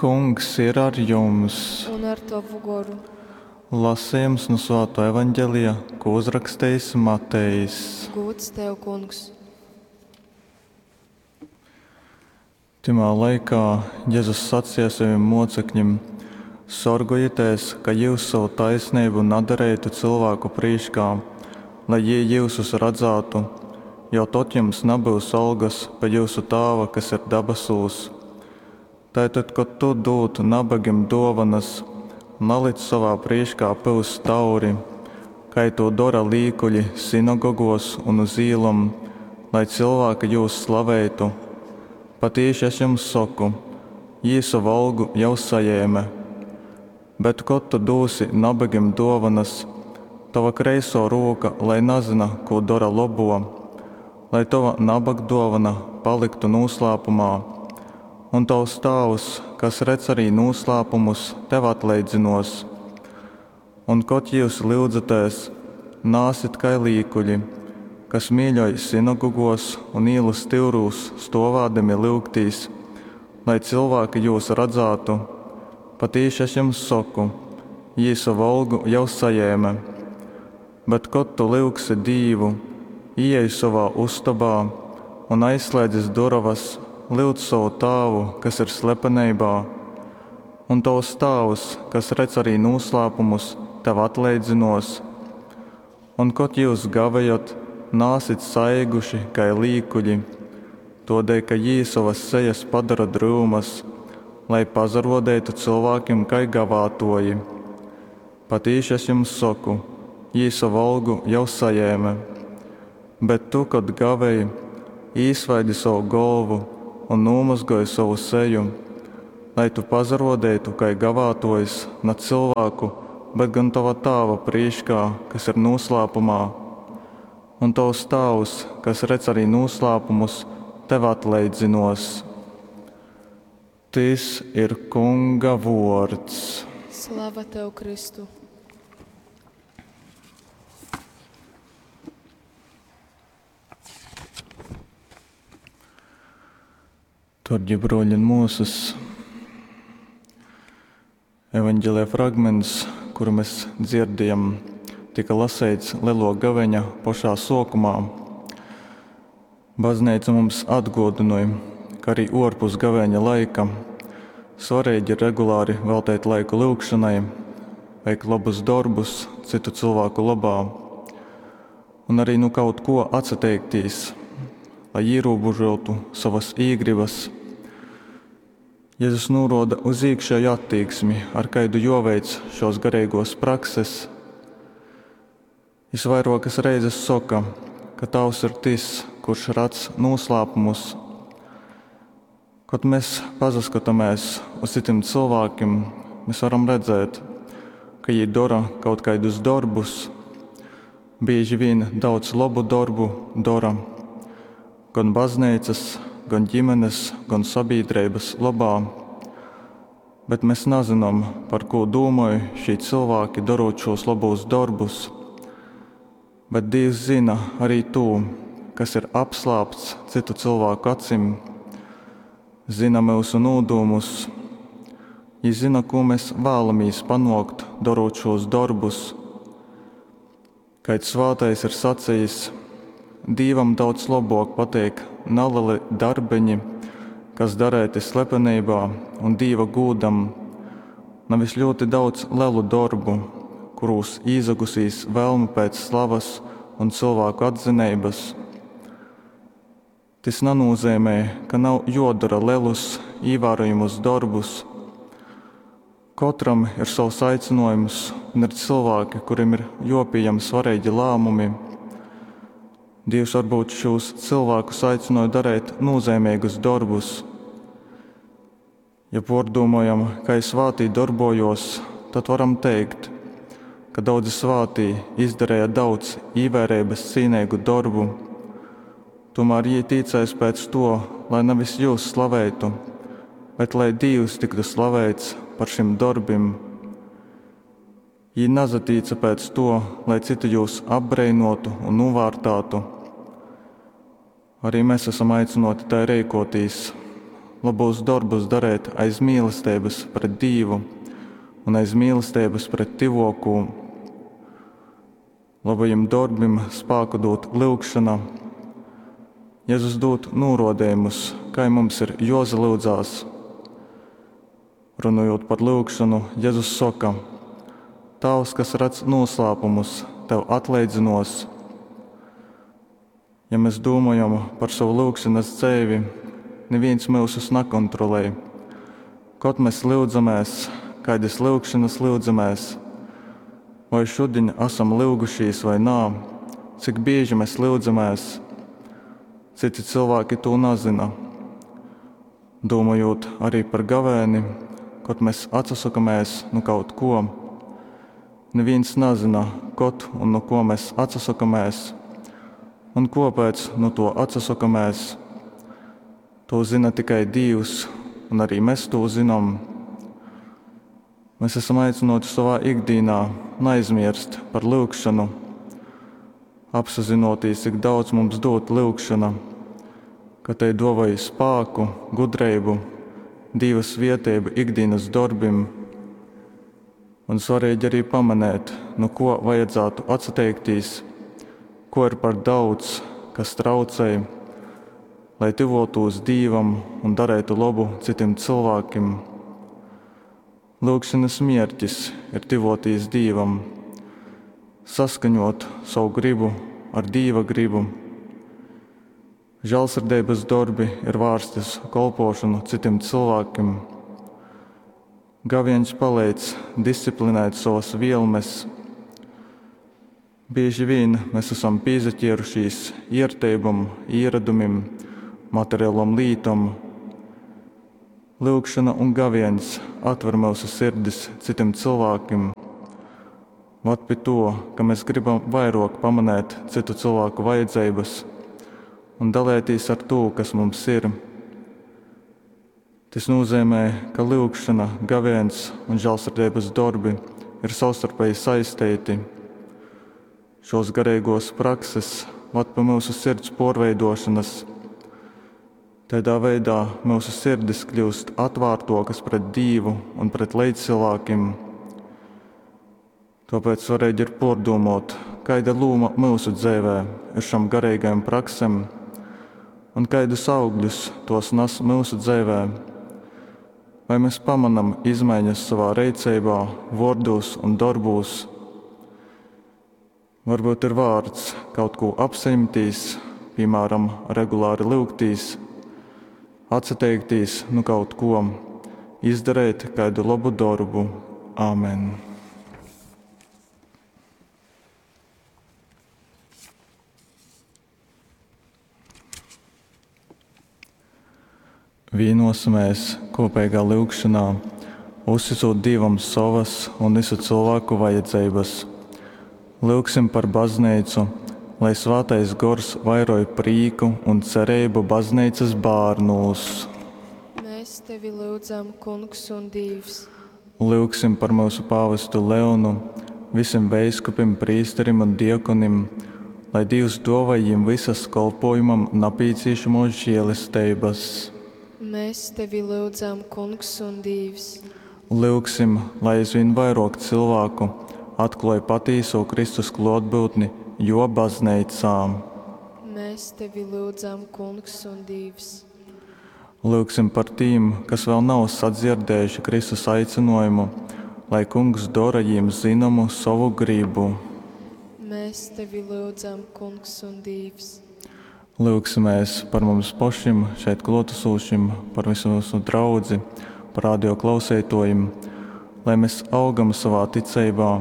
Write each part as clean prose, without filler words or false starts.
Kungs ir ar jums! Un ar tovu goru. Lasejums nu Svātō Evangelija, kū uzrakstejis Matejs. Gūds tev, Kungs! Tymā laikā Jezus saceja sovim mōcekļim, Sorgojitēs, ka jyus sovu taisneibu nadareitu cylvāku prīškā, lai jī jyusus radzātu, jo tod jums nabyus olgas pi jyusu Tāva, kas ir dabasūs. Tai tad, kod tu dūd nabagim dōvonas, nalic sovā prīškā pyust tauri, kai tū dora līkuļi synagogōs un uz īlom, lai cylvāki jūs slaveitu. Patīši, Es jums soku, jī sovu olgu jau sajēme. Bet, kod tu dūsi nabagim dōvonas, tova kreisō rūka lai nazyna, kū dora lobō, lai tova nabagdōvona palyktu nūslāpumā. Un tovs Tāvs, kas redz arī nūslāpumus, tev atleidzynōs. Un, kod jyus lyudzatēs, naasit kai līkuļi, kas mīļoj synagogōs un īlu styurūs stōvādami lyugtīs, lai cylvāki jūs radzātu. Patīši, Es jums soku, jī sovu olgu jau sajēme. Bet, kod tu lyugsi Dīvu, īej sovā ustobā un, aizslēdzis durovas, lyudz sovu Tāvu, kas ir slepeneibā. Un tovs Tāvs, kas redz arī nūslāpumus, tev atleidzynōs. Un, kod jyus gavejot, naasit saeiguši kai līkuļi, tōdēļ ka jī sovas sejas padora dryumas, lai pasarōdeitu cylvākim kai gavātōji. Patīši, Es jums soku, jī sovu olgu jau sajēme. Bet tu, kod gavej, īsvaidi sovu golvu un nūmozgoj sovu seju, lai tu pasarōdeitu kai gavātōjs na cylvāku, bet gon tova Tāva prīškā, kas ir nūslāpumā. Un tovs Tāvs, kas redz arī nūslāpumus, tev atleidzynōs. Tys ir Kunga vōrds. Slava tev, Kristu! Dārgie bruoļi un muosas, evanģelija fragments, kuru mēs dzirdējam, tika laseits Lielo gaveņa pašā suokumā. Baznīca mums atguodināja, ka arī ārpus gavēņa laika svarīgi ir regulāri veltīt laiku lūgšanai, veikt labus darbus citu cilvēku labā un arī nu kaut ko atsateikties, lai ierobežotu savas īgribas. Jēzus norāda uz iekšēju attieksmi, ar kādu joveic šos garīgos prakses. Jis vairuokas reizes soka, ka Tavs ir tas, kurš redz noslēpumus. Kad mēs pasaskatāmies uz citiem cilvēkiem, mēs varam redzēt, ka viņi dara kaut kādus darbus, bieži vien daudz labu darbu dara, gan baznīcas, gan ģimenes, gan sabiedrības labā. Bet mēs nezinām, par ko domāj šie cilvēki, darot šos labos darbus. Bet Dievs zina arī to, kas ir apslāpts citu cilvēku acīm, zina mūsu nodomus. Viņš zina, ko mēs vēlamies panākt, darot šos darbus. Kāds svātais ir sacījis, Dievam daudz labāk patīk nelieli darbiņi, kas darēti slepenībā un Dieva gūdam, nevis ļoti daudz lielu darbu, kurūs īzagusīs vēlme pēc slavas un cilvēku atzinības. Tas nenozīmē, ka nav jodara lielus, ievērojamus darbus. Katram ir savs aicinājums, un ir cilvēki, kuriem ir jopieņem svarīgi lēmumi. Dievs varbūt šos cilvēkus aicināja darīt nozīmīgus darbus. Ja pārdomājam, kā svātī darbojos, tad varam teikt, ka daudzi svātī izdarīja daudz ievērības cīnīgu darbu. Tomēr jī ticēs pēc to, lai nevis jūs slavētu, bet lai Dievs tiktu slavēts par šim darbim. Jī nazatīca pēc to, lai citi jūs apbreinotu un novārtātu. Arī mēs esam aicināti tai rīkoties, lobūs dorbus dareit aiz mīlesteibas pret Dīvu un aiz mīlesteibas pret tyvōkū. Lobajim dorbim spāku dūd lyugšona. Jezus dūd nūrōdejumus, kai mums ir jōsalyudzās. Runojūt par lyugšonu, Jezus soka: Tāvs, kas redz nūslāpumus, tev atleidzynōs. Ja mes dūmojam par sovu lyugšonas dzeivi, nivīns myusus nakontrolej. Kod mes lyudzamēs, kaidas lyugšonas lyudzamēs, voi šudiņ asam lyugušīs vai nā, cik bīži mes lyudzamēs. Citi cylvāki tū nazyna. Dūmojūt arī par gavēni, kod mes atsasokamēs nu kaut kuo, nivīns nazyna, kod un nu kuo mes atsasokamēs un kuopēc nu tuo atsasokamēs. Tū zyna tikai Dīvs, un arī mes tū zynom. Mes esam aicynuoti sovā ikdīnā naizmierst par lyugšonu, apsazynuotīs, cik daudz mums dūd lyugšona, ka tei duovoj spāku, gudreibu, Dīva svieteibu ikdīnas dorbim. Un svarīgi arī pamanēt, nu kuo vajadzātu atsateikties, kuo ir par daudz, kas traucej, lai tyvuotūs Dīvam un dareitu lobu cytim cylvākim. Lyugšonys mierkis ir tyvuotīs Dīvam, saskaņuot sovu gribu ar Dīva gribu. Žālsirdeibys dorbi ir vārsti uz kolpuošonu cytim cylvākim. Gavieņs paleidz disciplinēt sovas vielmes. Bīži vīn mes esam pīsaķierušīs ierteibom, īradumim, materialom lītom. Lyugšona un gavieņs atver myusu sirdis cytim cylvākim, vad pi tuo, ka mes gribam vairuok pamanēt cytu cylvāku vajadzeibys un dalētīs ar tū, kas mums ir. Tys nūzeimē, ka lyugšona, gavieņs un žālsirdeibys dorbi ir savstarpeji saisteiti. Šōs gareigōs prakses vad pi myusu sirds pōrveidōšonys. Taidā veidā myusu sirdis kļyust atvārtōkas pret Dīvu un pret leidzcylvākim. Tōpēc svareigi ir pōrdūmōt, kaida lūma myusu dzeivē ir šom gareigajom praksem un kaidus augļus tōs nas myusu dzeivē. Vai mes pamonam izmaiņas sovā reiceibā, vōrdūs un dorbūs? Varbyut ir vārts kaut kū apsajimtīs, pīmāram, regulāri lyugtīs, atsateiktīs nu kaut kuo, izdareit kaidu lobu dorbu. Āmen! Vīnosimies kopīgā lyugšanā, uzticot Dīvam sovas un visu cilvēku vajadzības. Lyugsim par baznīcu, lai Svētais Gors vairoj prīku un cerību baznīcas bērnūs. Mēs tevi lūdzam, Kungs un Dievs. Lyugsim par mūsu pāvestu Leonu, visiem veiskupim, prīsterim un diekonim, lai Dievs dāvā viņiem visas kolpojumam napīciešamos žēlestības. Mēs tevi lūdzam, Kungs un Dievs. Lyugsim, lai aizvien vairāk cilvēku atklāj patīso Kristus klātbūtni jo baznīcā. Mēs tevi lūdzam, Kungs un Dievs. Lyugsim par tīm, kas vēl nav sadzirdējuši Kristus aicinājumu, lai Kungs dara jiem zināmu savu gribu. Mēs tevi lūdzam, Kungs un Dievs. Lūgsimies par mums pašiem, šeit klātesošiem, par visu mūsu draudzi, par radio klausītājiem, lai mēs augam savā ticeibā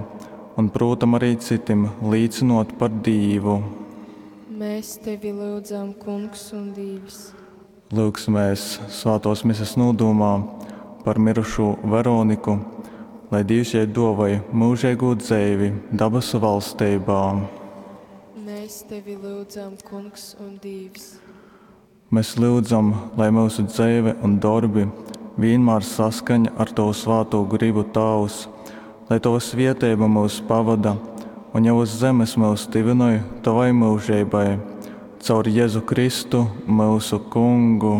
un, protams, arī citiem līdzinot par Dievu. Mēs tevi lūdzam, Kungs un Dievs. Lūgsimies svētos mises nodomā par mirušo Veroniku, lai Dievs jai dāvāja mūžīgo dzīvi dabasu valstībā. Mēs tevi lūdzam, Kungs un Dievs. Mēs lūdzam, lai mūsu dzīve un darbi vienmēr saskaņa ar Tavu svēto gribu, Tēvs, lai Tava svieteiba mūs pavada un jau uz zemes mūs tivinoj Tavai mūžībai, caur Jēzu Kristu, mūsu Kungu.